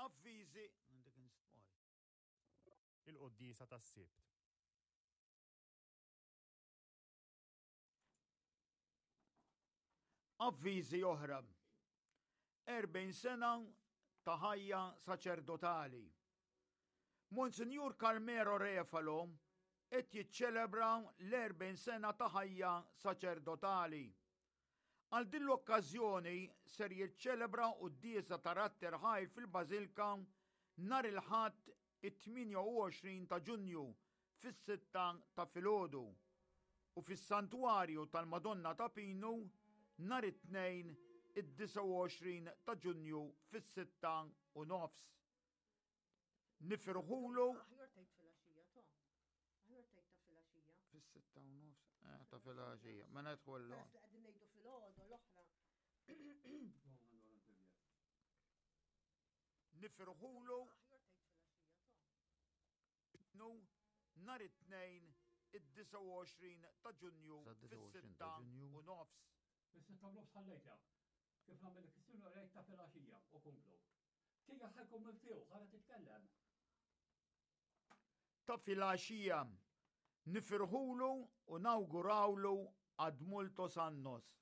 Avviżi. Il-Quddiesa tas-Sibt. Avviżi oħra. 40 sena ta' ħajja saċerdotali. Monsinjur Carmelo Refalo qed jiċċelebra l-40 sena ta' ħajja saċerdotali. Għal din l-okkażjoni ser jiċċelebra quddiesa ta' Radd Irħajr fil-Bażilka nhar il-Ħadd it-28 ta' Ġunju fis-sitta ta' filgħodu u fis-Santwarju tal-Madonna ta' Pinu nhar it-Tnejn id-29 ta' Ġunju fis-sitta u nofs. Nifirħulu. Aħjar tgħid filgħaxija, to. Aħjar tgħid ta' filgħaxija. Fis-sitta u nofs. Eh, ta' filgħaxija. Ma nedħollu. Peress li qegħdin ngħidu filgħodu l-oħra. Nifirħulu. Nu nhar it-Tnejn id-29 ta' Ġunju fis-sitta u nofs. Fis-sitta u nofs ħallejtha. Kif nagħmel il-kwistjoni rejt ta' filgħaxija u komplu. Tija ħajkun miftuħ, ħara titkellem. Ta' filgħaxija nifirħulu u nawgurawlu ad multos annos.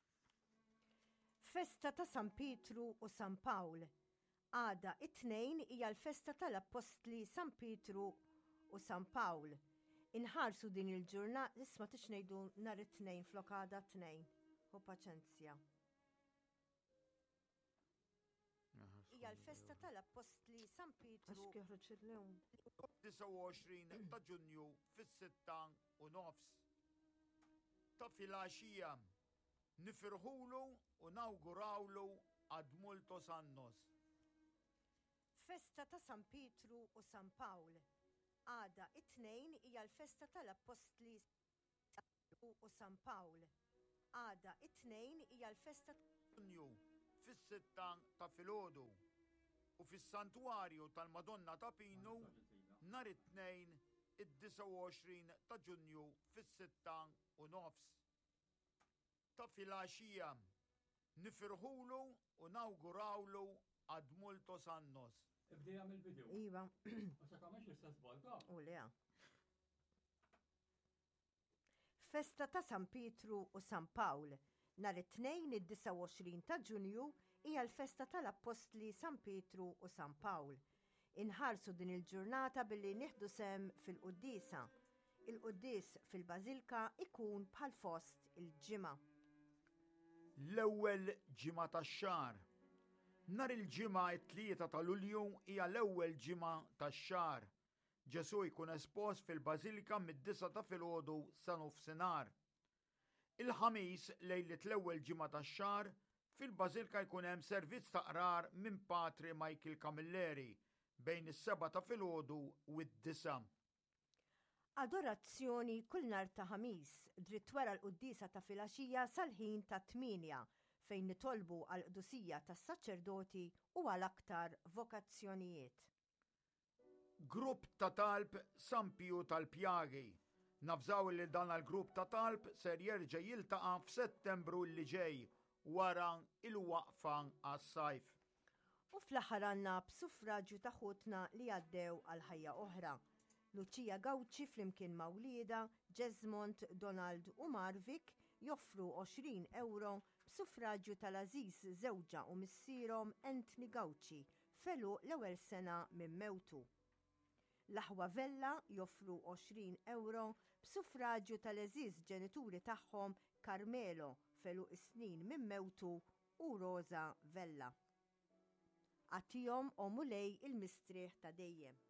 Festa ta' San Pietru u San Pawl. Għada it-Tnejn hija l-festa tal-Appostli San Pietru u San Pawl. Inħarsu din il-ġurnata, isma' tix ngħidu nhar it-Tnejn flok għada t-Tnejn. Hu paċenzja. Hija l-festa tal-Appostli San Pietru. Għax joħroġ illum. 29 ta' Ġunju fis-sitta u nofs. Ta' filgħaxija nifirħulu u nawgurawlu ad multos annos. Festa ta' San Pietru u San Pawl. Għada it-Tnejn hija l-festa tal-Appostli u San Pawl. Għada it-Tnejn hija l-festa. Ġunju fis-sitta ta' filgħodu u fis-Santwarju tal-Madonna ta' Pinu nhar it-Tnejn id-29 ta' Ġunju fis-sitta u nofs ta' filgħaxija. Nifirħulu u nawgurawlu ad multos annos. Ibdejha mill-bidu. Iva. U sa tagħmilx l-istess żball ta'. U le. Festa ta' San Pietru u San Pawl. Nhar it-Tnejn id-29 ta' Ġunju hija l-festa tal-Appostli San Pietru u San Pawl. Inħarsu din il-ġurnata billi nieħdu sehem fil-quddiesa. Il-quddies fil-Bażilka ikun bħal fost il-ġimgħa. L-ewwel ġimgħa tax-xahar. Nhar il-Ġimgħa t-3 ta' Lulju hija l-ewwel ġimgħa tax-xahar. Ġesù jkun espost fil-Bażilika mid-disgħa ta' filgħodu sa nofsinhar. Il-Ħamis, lejliet l-ewwel ġimgħa tax-xahar, fil-Bażilka jkun hemm servizz ta' qrar minn Patri Michael Camilleri bejn is-sebgħa ta' filgħodu u d-disgħa. Adorazzjoni kull nhar ta' Ħamis, dritt wara l-quddiesa ta' filgħaxija sal-ħin tat-tmienja, fejn nitolbu għall-qdusija tas-saċerdoti u għal aktar vokazzjonijiet. Grupp ta' Talb San Piju tal-Pjagi. Navżaw li dan l-grupp ta' talb ser jerġa' jiltaqa' f'Settembru li ġej wara il-waqfa għas-sajf. U fl-aħħar għandna b'suffraġju ta' ħutna li għaddew għal ħajja oħra. Lucia Gauci flimkien ma' wliedha, Jesmond, Donald u Marvik joffru 20 ewro b'suffraġju tal-għażiż żewġha u missierhom Anthony Gauci f'għeluq l-ewwel sena minn mewtu. L-aħwa Vella joffru 20 ewro b'suffraġju tal-għeżież ġenituri tagħhom Carmelo f'għeluq is-snin minn mewtu u Rosa Vella. Agħtihom, o Mulej, il-mistrieħ ta' dejjem.